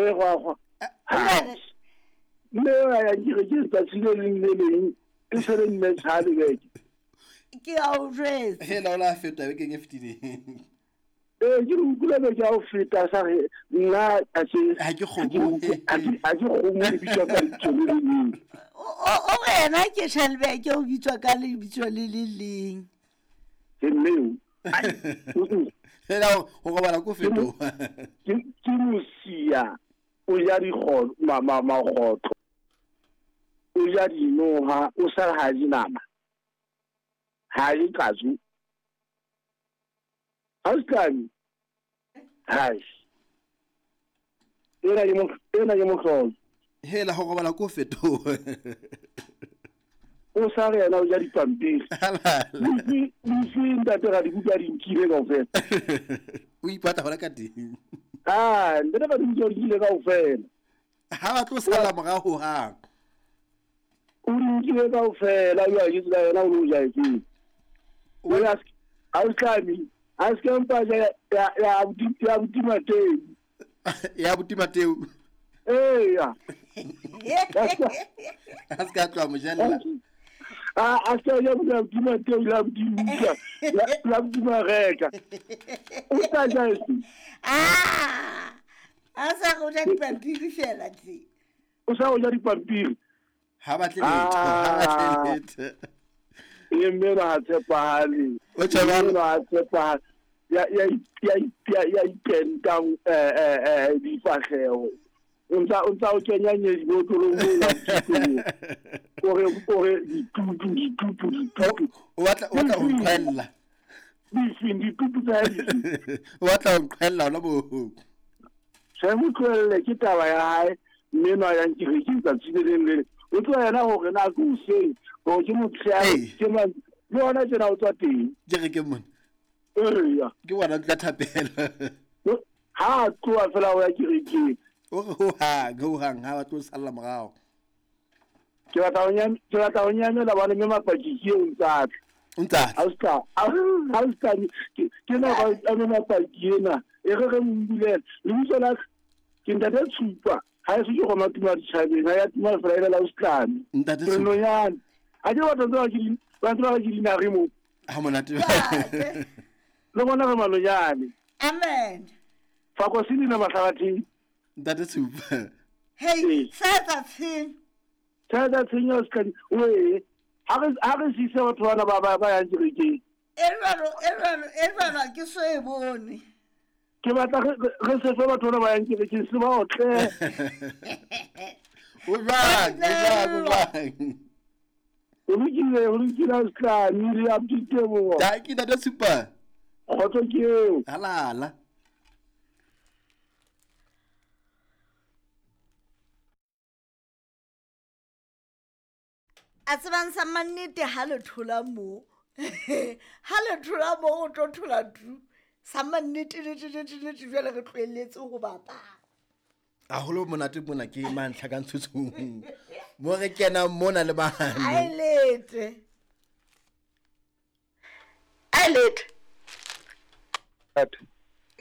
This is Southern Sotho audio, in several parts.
E gwa gwa. Mme a yang kerekeng tsatsi le leng le leng e se le mme tshale beke. Ke a o jwetsa. Hela o la feta bekeng e fetileng. Ee, ke re utlwile beke ya go feta sa re nna a se Ha ke kgomo. Ha ke kgomo e bitswa ka lebitso le le leng. O re yena ke Shelbeke o bitswa ka lebitso le le leng. Ke mmeo. Hela go robala ko fetoga. Ke mosia o ja dikgotlo magotlo. O ja dinoha o sa ha di nama. Ha di katsu. Auslani. Hai. Ena ke mohlolo. Hela go robala ko fetoga. O sa re yena o ja dipampiri. Lefi ntate ga dibuka di nkile kaofela. O ipata hona ka teng. Ah, ntate ga dibuka di nkile kaofela. Ha ba tlo sala morago hang. O di nkile kaofela, yo a jetse ka yena o lo ja efeng. O ya Auslani. A se ke mpa ya abuti Mateu. Ya abuti Mateu. Eya. A se ka tloha mojalla. A se ya abuti Mateu la abuti Luka, la abuti Mareka. O tla ja eng? Ah! A sa go ja dipampiri fela tse. O sa go ja dipampiri. Ha batle letho, ha batle letho. E mme ba tshepahale. O tjhabana ba tshepahale. Ya ipentang difahleho. O ntsa o kenya nyedi botlolong mo la ore ditutu. O batla ho nqhella. Ditutu tsa hae. O batla ho nqhella hona moo. Se mo tlohelle ke taba ya hae mme no ya nkerekeng tsatsi le leng le. O tloha yena hore na ke hoseng hore ke motshehare ke mang le hona tjena o tswa teng. Kerekeng mona. Eya. Ke wena o tla thapela. Ha a tloha fela o ya kerekeng. O re hohang ha ba tlo salla morao. Ke batla ho nyamela bana mme mapaki ke eo ntsa tla. Ntsa. Auska ke na ba mme mapaki ena e re re mbulela. Lebitso la ke ntate Tshupa. Ha e se ke goma tuma ditjhabeng ha ya tuma fela la Auslani. Ntate Tshupa. Nonyane. A ke batla tswa ke ba tswa ke dinare mo. Ha monate. Le bona re malonyane. Amen. Fa go se dina mahlabatheng. Ntate Tshupa. Hey, setsa tshenyo. Setsa tshenyo Auslani. Oe, ha re sise batho bana ba yang kerekeng. E jwalo ke so e bone. Ke batla re se fe batho bana ba yang kerekeng se ba otle. O jwang. O lokile Auslani le abuti. Dankie ntate Tshupa. Kgotso ke eo. Halala. A tsebang sa mannete ha le thola mo. Ha le thola mo o tlo thola tu. Sa mannete le jwale re tlohelletse ho bapala. Haholo monate mona ke mantlha ka ntshutshung. Mo re kena mona le bana. Ailete.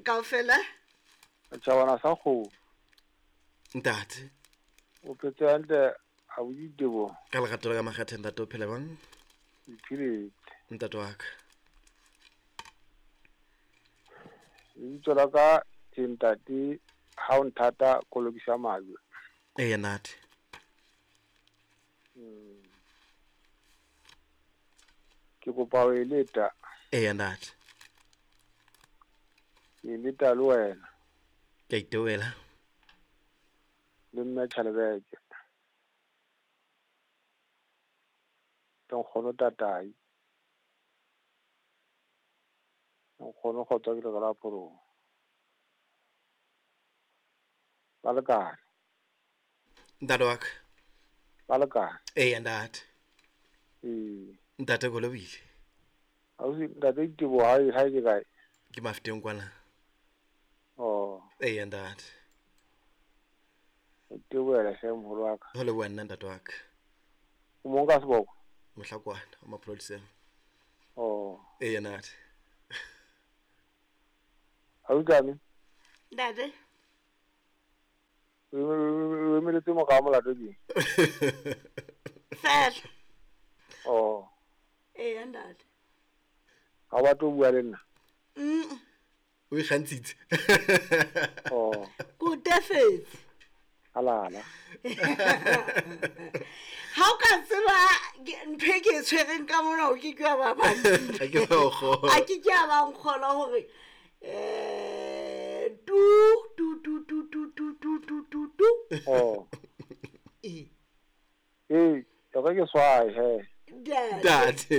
Kaofela? Tjhabana sa kgomo. Ntate. O phetse hantle a boditebo. Ka lerato la makgethe ntate o phela bang? Iphiletse. Ntate wa ka. Lebitso la ka ke ntate ha o nthata kolokisa majwe. Eya ntate. Ke kopa ho eleta. Eya ntate. Ke eleta le wena. Ke a itewela. Le mme Tjhalebeke. Le nkgono Tatai. Nkgono kgotsa ke le la porong. Ba le kae? Ntate wa ka. Ba le kae? Eya ntate. Ee. Ntate Kolobile. Ausi ntate Diteboho ha e ke kae? Ke Mafeteng kwana. Oh. Eya ntate. Itebohela hle moholo wa ka. Ho leboha nna ntate wa ka. O mong ka seboko? Mohlakwana o mapoloseng. Oh. Eya ntate. Ausi Tlame. Ntate. O emeletse morao molato ke? Fela. Oh. Eya ntate. Ha o batle ho bua le nna? O ikgantshitse. Oh. Ke o tefetse. Halala. Ha o ka tseba ntho e ke e tshwereng ka mona o ke ke wa ba Ha ke ba o kgolwa. A ke ke a ba nkgolwa hore tu tu tu tu tu tu tu tu tu tu. Oh. Ee. Ee, e re ke swae he. Ntate. Ntate.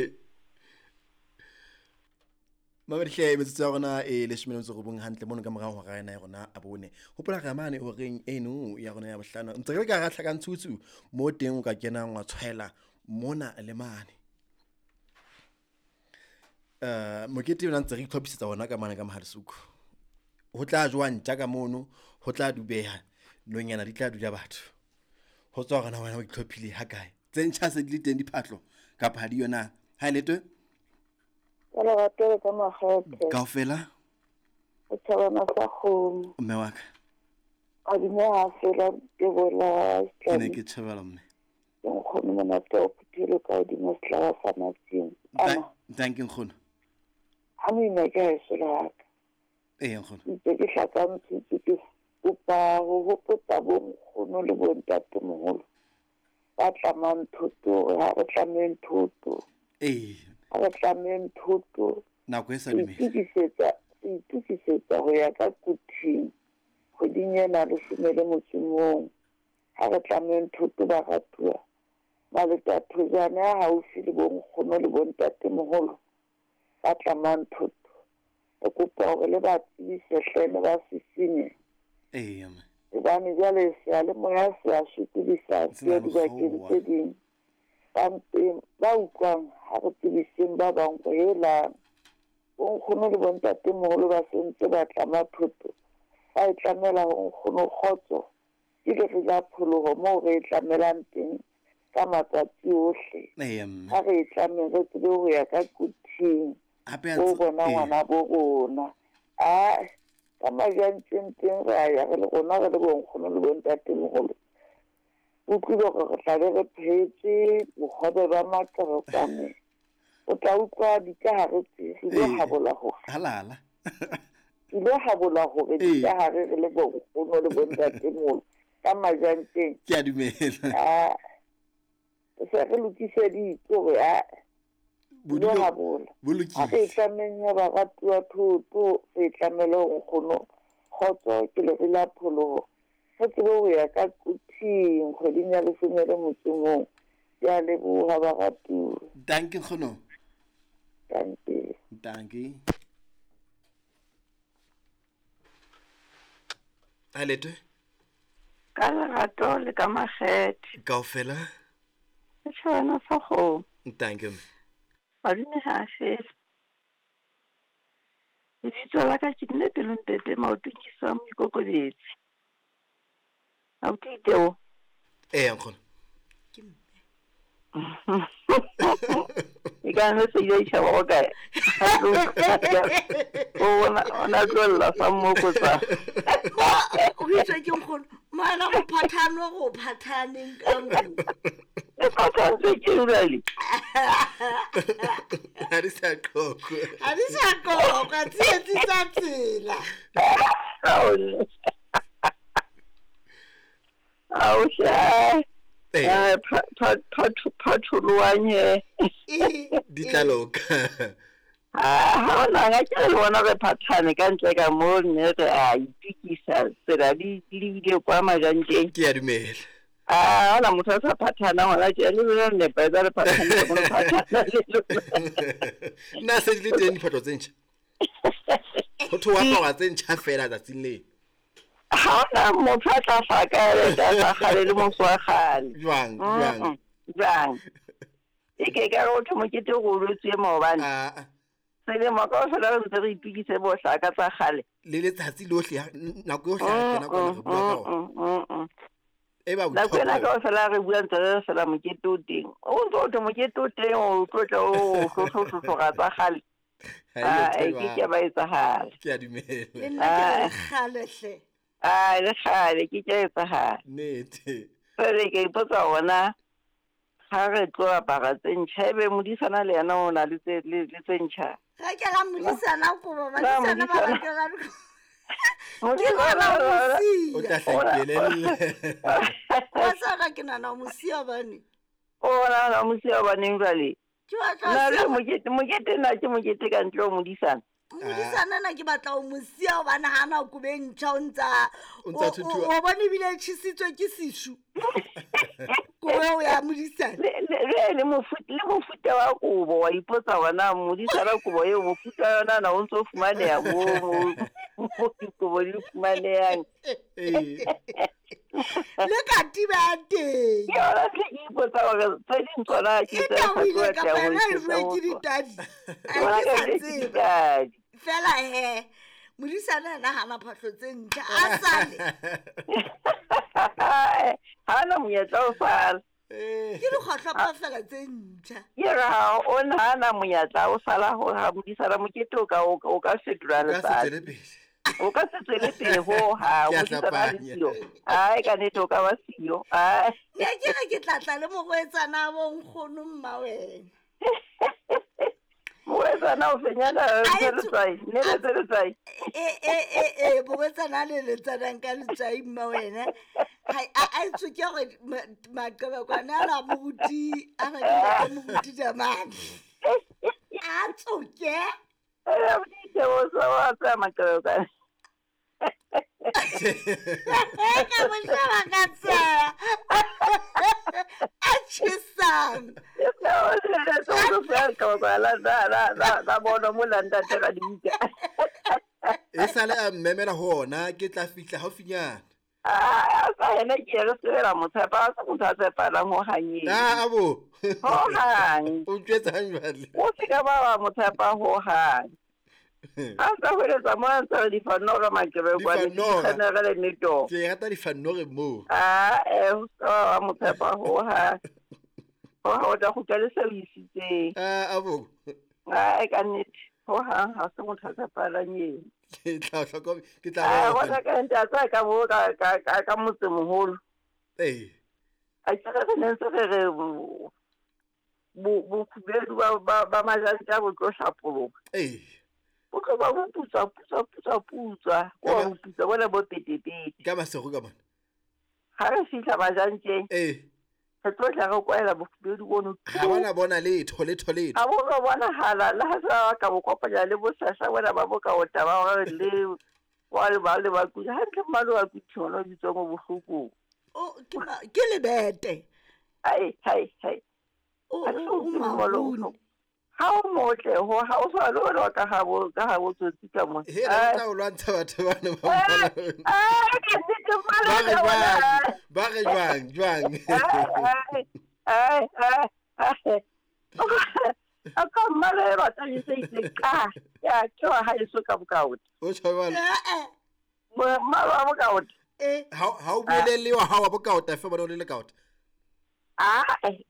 Mamedihle metsotso ya rona e 19 hantle mono ka morao hora ena ya rona a bone. Hopola re mane horeng eno ya rona ya bohlano. Ntse re le ka hara tlhakantshutsu mo teng o ka kenang wa tshwaela mona le mane. Mokete ona ntse re itlhophisetsa ona ka mane ka Mohalesuku. Ho tla jowa ntja ka mono, ho tla dubeha, nonyana di tla dula batho. Ho tswa hore na wena o itlhophile ha kae. Tse ntjha se di le teng diphahlo kapa ha di yona. Ha e letwe? Ka lerato le ka makgethe. Kaofela? O thabana sa kgomo. Mme wa ka. A dume ha fela tebola Ke ne ke tjhebela mme. Ke nkgono monate o phuthelo ka hodimo sehlaba sa masimo. Ana. Thank you nkgono. Ha moima ke haeso le haka. Ee nkgono. Ntse ke hlakantshitse ke kopa ho hopotsa bo nkgono le bo ntatemoholo ba tlamang thoto hore ha re tlameng thoto. Ee. Ha re tlameng thoto. Nako e sa dumele. Re itokisetsa ho ya ka Quthing kgweding ena 11. Ha re tlameng thoto baratuwa. Maleta thojane a haufi le bo nkgono le bo ntatemoholo ba tlamang thoto. Re kopa hore le ba tsebise hle le ba sisinye. Ee, mme. Hobane jwale seyalemoya se a sokodisa Se na se dibakeng mokgwa. tse ding. Ba mpeng ba utlwang ha re tsebiseng ba bang hore helang bo nkgono le bo ntatemoholo ba sentse ba tlama thoto. Ba e tlamela ho nkgono kgotso ke lere la pholoho moo re e tlamelang teng ka matsatsi ohle. Ee, mme. Ha re e tlameng re tsebe ho ya ka Quthing Hape a o ntse- bona ee. ngwana bo rona. A ka majantseng teng re a ya re le rona re le bo nkgono le bo ntatemoholo. Utlwile hore re tla be re phehetse bohobe ba maqeretsane. O tla utlwa dikahare tse re ile Ee. habola hore. Halala. Ile habola hore Ee. dikahare re le bo nkgono le bo ntatemoholo ka majantseng. Ke a dumela. A se re lokiseditse hore a Bodulo ile habola. bo Ha re lokile. tlameng ya baratuwa thoto, re tlamele ho nkgono kgotso ke lere la pholoho. Re tsebe ho ya ka Quthing kgweding ya 11. Ke a leboha baratuwa. Danke nkgono. Danke. Danke. Ha letwe? Ka lerato le ka makgethe. Kaofela? Setjhabana sa kgomo. Danke mme. Madume ha a fele. Lebitso la ka ke nne pelong pepe maotong ke sa moikokobetsi. Abuti Iteo. Ee nkgono. Ke mme. E ka no se ile tjhaba go kae? O bona ona tlolla sa mmokotsa. O itswe ke nkgono. Moana go phathanwe go phathaneng ka nko. E phathantswe ke jwale. Ha di sa qoqwa. Ha di sa qoqwa, tsietsi tsa tsela. Ao hle. Ee. Phatholoang he. Ee, Di tla loka. Ha ona ga ke re le bona re phathane ka ntle ka mo mme re a itukisa tsela di lebile kwa majanteng. Ke a dumela. A ona motho a sa phathana hona tje le lona le nepahetse le phathane le lona phathana le lona. Nna se di le teng diphahlo tse ntjha. Ho thwe wa apara tse ntjha fela tsatsing leo. Ha ona motho a tla hlaka a sa kgale le moso wa kgale. Jwang, jwang? Jwang? E ke ka re ho thwe mokete o roletswe maobane. Ah, Selemo kaofela re ntse re itukise bo hlaka tsa kgale. Le letsatsi lohle nako yohle ha re kena kwana re bua ka ona. E ba Nako ena boitlhophelo. kaofela re bua ntse re fela mokete o teng. O ntso o thwe mokete o teng o tlo tla o hlohlohlohlora tsa kgale. Ha e Ah, yo e ke ke thwe ba etsahala. Ke a dumela. Le nna ke re kgale hle. A le kgale ke ke etsahala. Nnete. Jwale ke ipotsa hore na ha re tlo apara tse ntjha ebe modisana le yena o na le tse le le tse ntjha. Rekela modisana kobo, Na badisana ba modisana. rekela dikobo. Ke nahana o mo O siya. tla hlakelelle. Wa tseba ke nahana o mo siya hobane. O nahana o mo siya hobaneng jwale? Ke batla ho Na le siya mokete mokete na ke mokete ka ntle ho modisana? Modisana na ke batla ho mo siya hobane ha na kobo e ntjha o ntsa O ntsa thuthuha. o bone ebile e tjhesitswe ke sesu. Kobo eo ya modisana. Le mofuta wa kobo wa ipotsa hore na modisana kobo eo mofuta wa yona na o ntso fumaneha moo mo dikobo di fumanehang. Ee. Le katiba ya teng. Ke yona ntho e ke ipotsa hore tse ding tsona ke E tse sa tabohile tlo kapa atleha ho yona e etsa jowe ho ke tsona. ditadi. Ke Ha bona ke ka sa ke tseba. ditadi. Feela he, modisana yena hana phahlo tse ntjha, a sale. Ha na monyetla o sala. Ke dikgohlopo feela tse ntjha. Ke re ha o nahana monyetla o sala ho ha modisana mokete o ka o ka fetola O ka se letsatsi. tswele pele. O ka se tswele pele ho hang. Ke a Modisana a le hlapanya. siyo. Ai ka nnete o ka ba siyo. Ai. Ne ke re ke tla tla le morwetsana wa bo nkgono mma wena. Morwetsana o fenyana A tse etso- letswai, ne le tse letswai. E morwetsana a leletsanang ka letswai mma wena. A etswe ke hore maqebekwane a la moruti, a na ke ntate moruti Damane. A tsoke. Eh, o wa tsaya maqebekwane. Ka mo sheba ka tsaya. A tjhesang. La bona mo la ntate ka dibuka. E sale a mmemela ho ona ke tla fihla haufinyana. A sa yena ke re sebela motshepa, a se motho a tshepahalang ho hang eo. Ah, abo. Ho hang. O ntjwetsang jwale? O se ka ba wa mo tshepa ho hang. Ha ntsa hweletsa mo a ntsa re difanora maqebekwane, Difanora. dikgenere le metoo. Ke rata difanore moo. Ah, o se ka ba wa mo tshepa ho hang. Ho hang o tla kgutla le seo o isitseng. Ah, abo. Ah, ka nnete. Ho hang ha se motho a tshepahalang eo. Ke tla hlokomela, ke tla Ah, bona. bona ka nnete a tsaya ka bo ka motsemoholo. Ee. A ke re ne ntse re re bokgubedu ba majantja bo tlo hlapoloha. Ee. Bo tlo ba bo putswa, putswa, putswa, putswa. Ko wa boputswa bona bo petepete. Ka masego ka mona. Ha re fihla majantjeng. Ee. Re tlo tla re kwaela bokgubedu bono. Ha bona bona letho, letho, letho. Ha bo no bonahala le ha se ba ka bo kopanya le bosasa bona ba bokaota ba hore le wa le ba le ba kudu. Hantle mmalo wa kudu ona o bitswang o bohlokong. O, ke lebete. Ai, ai, ai. O, Ha ke o, o utlwe mmalo o marune. bohloko. Ha o motle ho ha o tshwana le wena wa ka habo ka habo tsotsi ka mona. He, na o tla o lwantsha batho bana ba mmala ona. Ai, ka nnete mmalo Ba re wa bona. jwang? Ba re jwang? Jwang? Ai, ai, ai, ai. A ka mmalo e batlang e se itse ka. Ya, ke wa haeso ka bokaota. O tjho jwalo. Eh, eh. Mmalo wa bokaota. Eh. Ha o buelelle wa hao wa bokaota fe bona o le lekaota. Ai.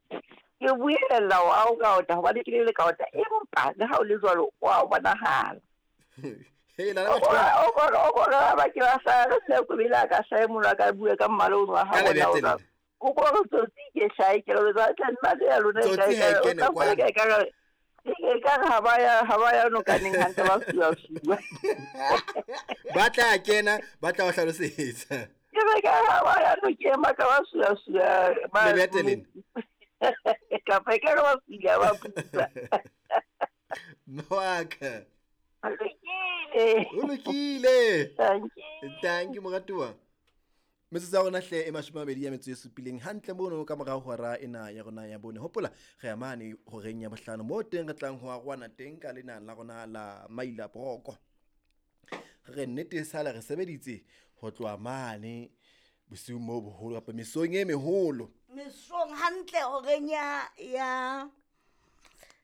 Ke buelella wa bokaota hobane ke le lekaota empa le ha o le jwalo wa bonahala. He, la la batho ba. O bona o bona ba ke ba sa re se ko bile ka hlae mono a ka bua ka mmalo ono wa Ka hao lebete ona o lena. O bona tsotsi ke hlae ke re tla nna le ya lona e Tsotsi ha e kene kwano. e ka re ha ba ya ha ba ya nokaneng hantle ba sua sua. Ba tla kena, ba tla o hlalosetsa. Ke re ka ha ba ya nokeng ba ka ba sua sua ba Lebete lena. Kapa e ka re ba suile ba putsa. Mme wa ka. O lokile. O lokile. Thank you. Thank you moratuwa. Metsotso ya rona hle e 27 hantle mono ka morao hora ena ya rona ya bone. Hopola re ya mane horeng ya bohlano moo teng re tlang ho arwana teng ka lena la rona la Maila Broko. Re nnete sala re sebeditse ho tloha mane bosiung bo boholo kapa mesong e meholo. Mesong hantle horeng ya ya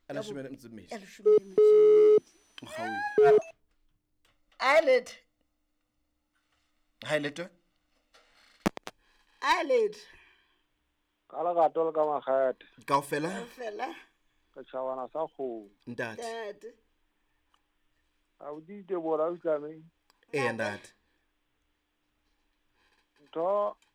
A 12. Ya leshome le metso e mmedi. Mokgaohi. Eyelid. Ha e letwe? Eyelid. Ka lerato le ka makgethe. Kaofela? Kaofela. Re tjhabana sa kgomo. Ntate. Ntate. Ha o di Teboho, o itlame. Eya, ntate. Ntho.